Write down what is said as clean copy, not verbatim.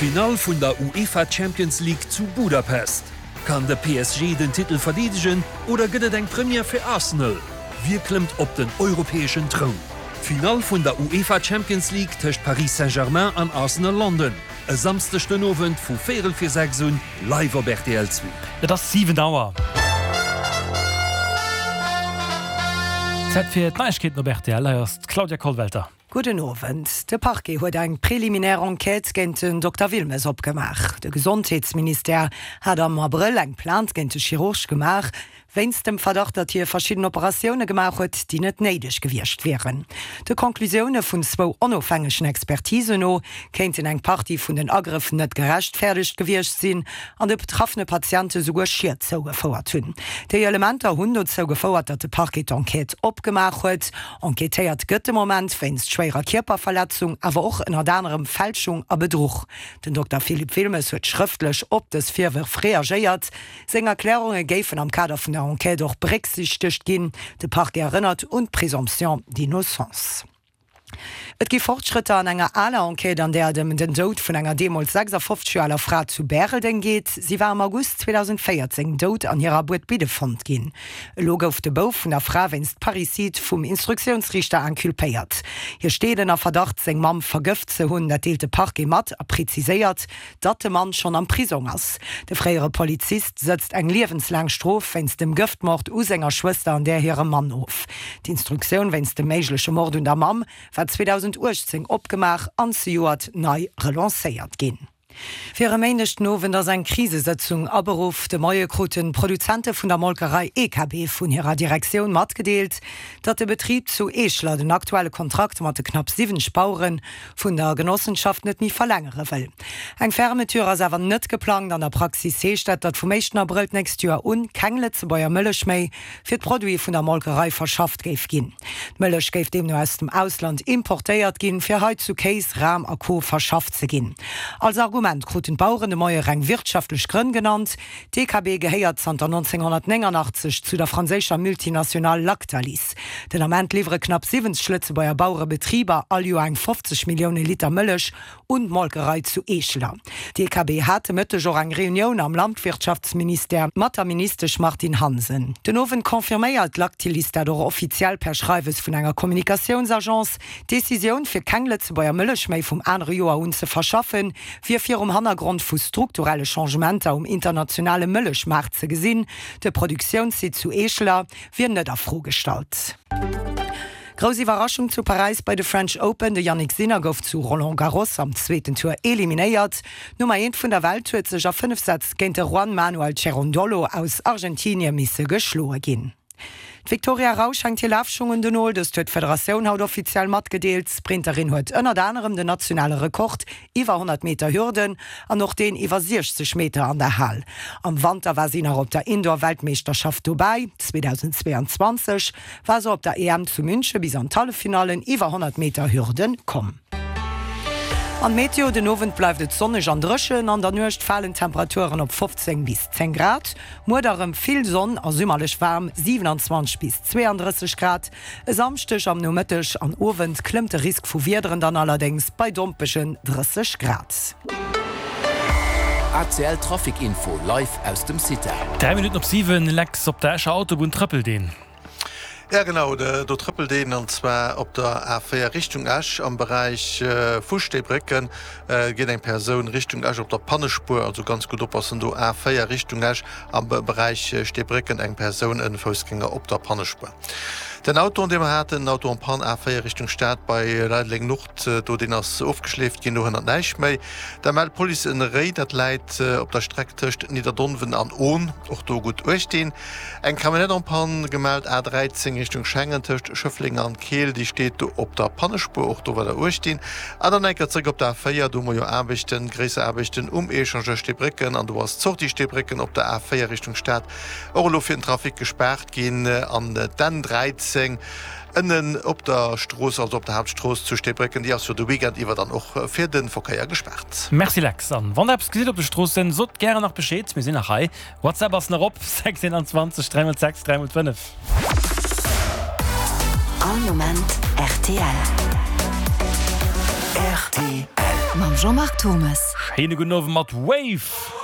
D'Finall vun der UEFA Champions League zu Budapest. Kann de PSG den Titel verdeedegen oder gëtt et eng Première fir Arsenal? Wie klëmmt op den europäeschen Troun? D'Finall vun der UEFA Champions League tëscht Paris Saint-Germain an Arsenal London e Samsdeg den Owend vu véierel vir 6 un live op rtl 2. Et ass 7 Auer. Zäit fir d'Neiegkeeten op rtl. Hei ass d'Claudia Kollwelter. Gudden Owend. De Parquet huet eng preliminär Enquête géint den Dokter Wilmes opgemaach. De Gesondheetsministère hat am Abrëll eng Plainte géint de Chirurg gemaach, wéinst dem Verdacht, datt hie verschidden Operatioune gemaach huet, déi net néideg gewiescht wieren. De Conclusioune vun zwou onofhängegen Expertisen no kéinten eng Partie vun den Agrëff net gerechtfäerdegt gewiescht sinn an de betraffene Patiente souguer Schied zougefouert hunn. Déi Elementer hunn dozou gefouert, datt de Parquet d'Enquête opgemaach huet. Enquêtéiert gëtt de Moment wéinst schwéierer Kierperverletzung, awer och ënnert anerem Fälschung a Bedruch. Den Dokter Philippe Wilmes huet schrëftlech op dës Virwërf reagéiert. Seng Erklärunge géifen am Kader vun der Enquête och berécksiichtegt ginn. De Parquet erënnert un d'Présomption d'innocence. Et gi Fortschrëtter an enger aler Enquête, an där et ëm den Doud vun enger deemools 56 Joer aler Fra zu Bäreldeng geet. Si war am August 2014 dout an hirer Buedbidde fonnt ginn. Elo gouf de Bouf vun der Fra wéinst Parricide vum Instruktiounsriichter inculpéiert. Hie steet ënner Verdacht, seng Mamm vergëft ze hunn. Dat deelt de Parquet mat a preziséiert, datt de Mann schonn am Prisong ass. De fréiere Polizist sëtzt eng liewenslaang Strof wéinst dem Gëftmord u senger Schwëster an där hirem Mann of. D'Instruktioun wéinst dem méigleche Mord un der Mamm war 2018 opgemaach an zejoert nei relancéiert ginn. Fir e Méindeg den Owend ass eng Krisesëtzung aberuff. De Moie kruten d'Produzente vun der Molkerei EKB vun hirer Direktioun matgedeelt, datt de Betrib zu Eeschler den aktuelle Kontrakt mat de knapp 70 Bauere vun der Genossenschaft net méi verlängere wëll. Eng Fermeture ass awer net geplangt. An der Praxis heescht dat, datt vum éischten Abrëll d'nächst Joer un keng Lëtzebuerger Mëllech méi fir d'Produite vun der Molkerei verschafft géif ginn. D'Mëllech géif deemno aus dem Ausland importéiert ginn, fir hei zu Kéis, Ram a Co. Verschafft ze ginn. Als Argument kruten d'Baueren de Moie reng wirtschaftlech Grënn genannt. D'EKB gehéiert zanter 1989 zu der franséischer Multinationale Lactalis. Den Ament liwwere knapp 70 Lëtzebuerger Bauerebetriber all Joer eng 50 Millioune Liter Mëllech un d'Molkerei zu Eescheler. D'EKB hat de Mëtteg och eng Reunioun am Landwirtschaftsministère mat der Ministesch Martine Hansen. Den Owend confirméiert d'Lactilis dat och offiziell per Schreiwes vun enger Kommunikatiounsagence. D'Decisioun, fir keng Lëtzebuerger Mëllech méi vum anere Joer un ze verschaffen, wier virum Hannergrond vu strukturelle Changementer um internationale Mëllechmaart ze gesinn. De Produktiounssite zu Eescheler wier net a Fro gestallt. Grouss Iwwerraschung zu Paräis bei de French Open, De Jannik Sinner gouf zu Roland Garros am zweeten Tour eliminéiert. D'Nummer eent vun der Welt huet sech a 5 Sätz géint de Juan Manuel Cerundolo aus Argentinie misse geschloe ginn. D'Victoria Rausch hänkt hir Lafschung un den Nol, dëst huet d'Federatioun haut offiziell matgedeelt. D'Sprinterin huet ënnert anerem den nationale Rekord iwwer 100 Meter Hürden an och deen iwwer 60 Meter an der Hal. Am Wanter war si nach op der Indoor-Weltmeeschterschaft dobäi. 2022 war se op der EM zu Münche bis an d'Halleffinallen iwwer 100 Meter Hürden komm. An d'Meteo, Den Owend bleift et sonneg an dréchen, an der Nuecht falen d'Temperaturen op 15 bis 10 Grad. Muer da rëm vill Sonn a summerlech waarm 27 bis 32 Grad. E Samschdeg am Nomëtteg an Owend klëmmt de Risk vu Wiederen dann allerdéngs bei dompegen 30 Grad. ACL Trafic Info live aus dem CITA. 3 Minutten op 7, Lex, op der Escher Autobunn trëppelt een. Ja genau, do trëppelt een, an zwar op der A4 Richtung Esch am Beräich vu Steebrécken geet eng Persoun Richtung Esch op der Pannespuer, also ganz gutt oppassen do, A4 Richtung Esch am Beräich Steebrécken eng Persoun, en Foussgänger op der Pannespuer. Den Auto, dee mer haten, den Auto en panne A4 Richtung Stad bei Leideleng Nord, do deen ass ofgeschleeft ginn, do hënnert näischt méi. Da mellt d'Police en Réi, dat läit op der Streck tëscht Nidderdonwen an Ohn, och do gutt uecht dinn. Eng Camionnette en panne gemellt, A 13 Richtung Schengen tëscht Schëffleng an Keel, déi steet do op der Pannespuer, och do war der 18. An dann eng Kéier zréck op der A 4, do hu mer jo Aarbechten, gréisser Aarbechten um Echangeur Steebrécken an do ass d'Sortie Steebrécken op der A 4 Richtung Stad och elo fir den Trafic gespaart ginn an d'N 13 ënnen op der Strooss, also op der Haaptstrooss zu Steebrécken, déi ass jo de Weekend iwwer dann och fir de Verkéier gespaart. Merci Lex, an wann der eppes gesitt op de Stroossen, sot gären nach Bescheed, mir sinn nach hei. WhatsApp ass nach op, 6 21 3 x 6 3 x 5. All Moment rtl. Rtl. Mam Jean-Marc Thommes. Schéine gudden Owend mat Wave!